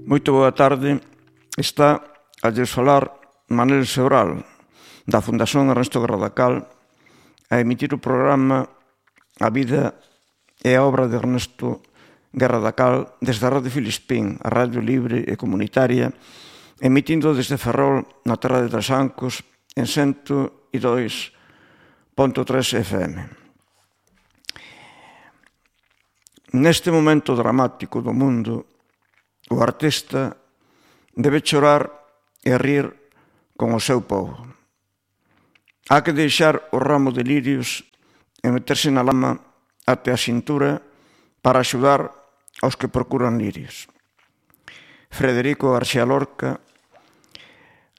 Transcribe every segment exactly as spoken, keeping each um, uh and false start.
Moito boa tarde. Está a lles falar Manel Sebral, da Fundación Ernesto Garradacal, a emitir o programa A vida e a obra de Ernesto Garradacal desde a Radio Filispín, a radio libre e comunitaria, emitindo desde Ferrol, na terra de Trasancos, en cento e dois punto tres F M. Neste momento dramático do mundo, o artista debe chorar e rir con o seu povo. Há que deixar o ramo de lirios e meterse na lama até a cintura para axudar aos que procuran lirios. Frederico García Lorca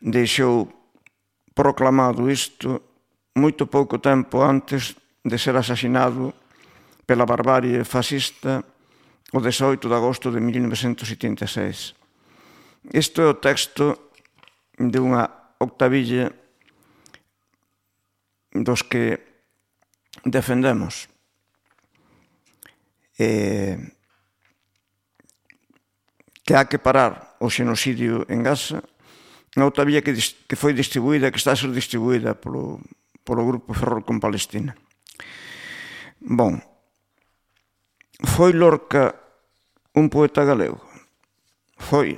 deixou proclamado isto moito pouco tempo antes de ser asasinado pela barbarie fascista o dezaoito de agosto de mil novecentos setenta e seis. Isto é o texto de unha octavilla dos que defendemos. Eh, que há que parar o xenocidio en Gaza, unha octavilla que, que foi distribuída, que está a ser distribuída polo, polo Grupo Ferrol con Palestina. Bon, foi Lorca un poeta galego? Foi.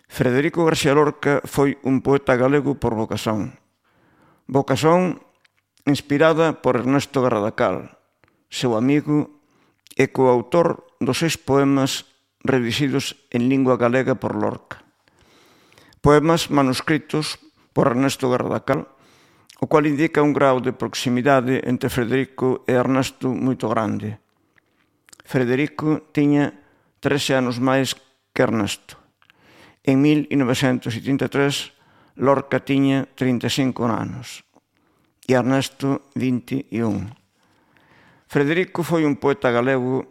Frederico García Lorca foi un poeta galego por vocación. Vocación inspirada por Ernesto Garradacal, seu amigo e coautor dos seis poemas redixidos en lingua galega por Lorca. Poemas manuscritos por Ernesto Garradacal, o cual indica un grau de proximidade entre Frederico e Ernesto moito grande. Frederico tiña trece anos máis que Ernesto. En mil novecentos setenta e tres, Lorca tiña trinta e cinco anos e Ernesto vinte e un. Frederico foi un poeta galego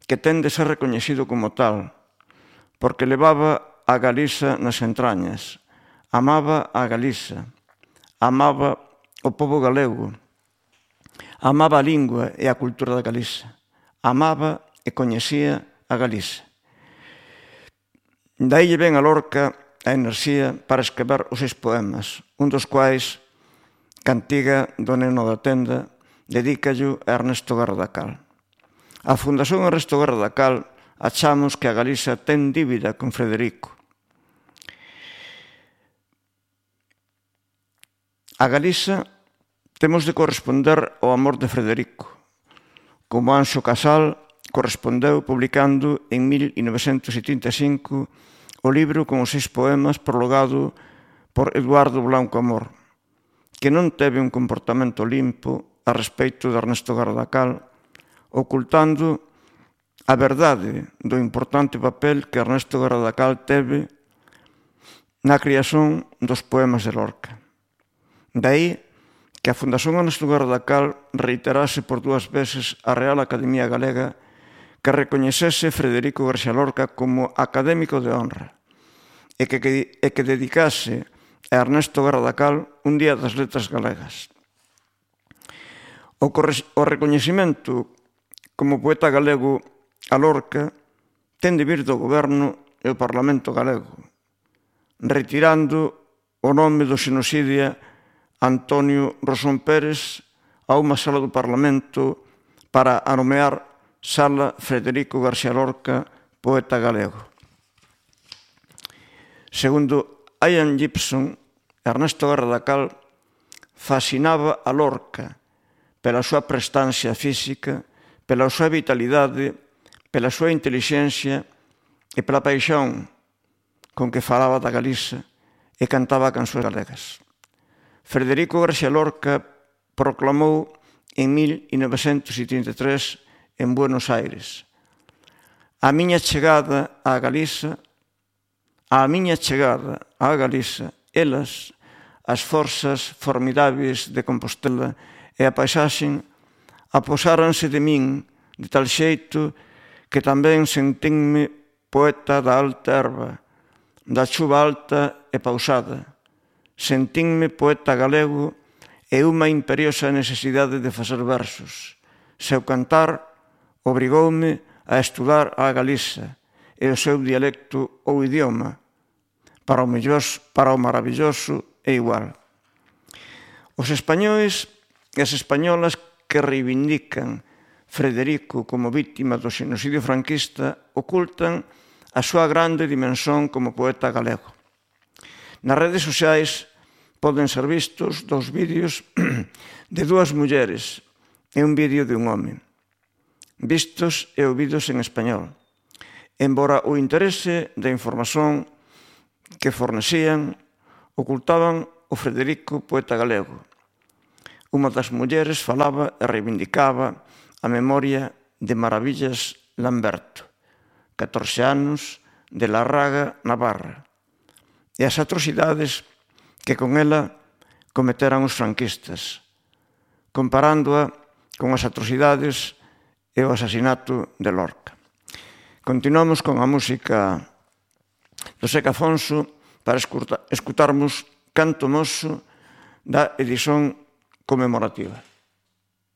que ten de ser recoñecido como tal, porque levaba a Galiza nas entrañas, amaba a Galiza, amaba o povo galego, amaba a lingua e a cultura da Galiza, amaba e coñecía a Galiza. Daí lle ven a Lorca a enerxía para escrever os seis poemas, un dos quais, Cantiga do neno da tenda, dedícallo a Ernesto Garradacal. A Fundación Ernesto Garradacal achamos que a Galiza ten dívida con Frederico. A Galiza temos de corresponder ao amor de Frederico, como Anxo Casal correspondeu publicando en mil novecentos setenta e cinco o libro con os seis poemas prologado por Eduardo Blanco Amor, que non teve un comportamento limpo a respeito de Ernesto Garradacal, ocultando a verdade do importante papel que Ernesto Garradacal teve na creación dos poemas de Lorca. Daí que a Fundación Ernesto Garradacal reiterase por dúas veces a Real Academia Galega que recoñecese Frederico García Lorca como académico de honra e que, que, e que dedicase a Ernesto Garradacal un día das letras galegas. O, o recoñecemento como poeta galego a Lorca ten de vir do goberno e o Parlamento galego, retirando o nome do xenocidio Antonio Rosón Pérez a unha sala do Parlamento para anomear Sala Frederico García Lorca, poeta galego. Segundo Ian Gibson, Ernesto Garradacal fascinaba a Lorca pela súa prestancia física, pela súa vitalidade, pela súa intelixencia e pela paixón con que falaba da Galiza e cantaba canções galegas. Frederico García Lorca proclamou en mil novecentos setenta e tres en Buenos Aires: a miña chegada á Galiza, a miña chegada á Galiza, elas, as forzas formidáveis de Compostela e a paisaxen, aposáranse de min de tal xeito que tamén sentinme poeta da alta erva, da chuva alta e pausada. Sentinme poeta galego e unha imperiosa necesidade de facer versos. Seu cantar obrigoume a estudar a Galiza e o seu dialecto ou idioma, para o melloso, para o maravilloso é igual. Os españois e as españolas que reivindican Frederico como vítima do xenocidio franquista ocultan a súa grande dimensón como poeta galego. Nas redes sociais poden ser vistos dous vídeos de dúas mulleres e un vídeo de un home, vistos e ouvidos en español, embora o interese da información que fornecían ocultaban o Frederico poeta galego. Unha das mulleres falaba e reivindicaba a memoria de Maravillas Lamberto, catorce anos, de Larraga, Navarra, e as atrocidades que con ela cometeran os franquistas, comparándoa con as atrocidades e o asasinato de Lorca. Continuamos con a música do Seca Afonso para escutarmos Canto Moso da edición conmemorativa.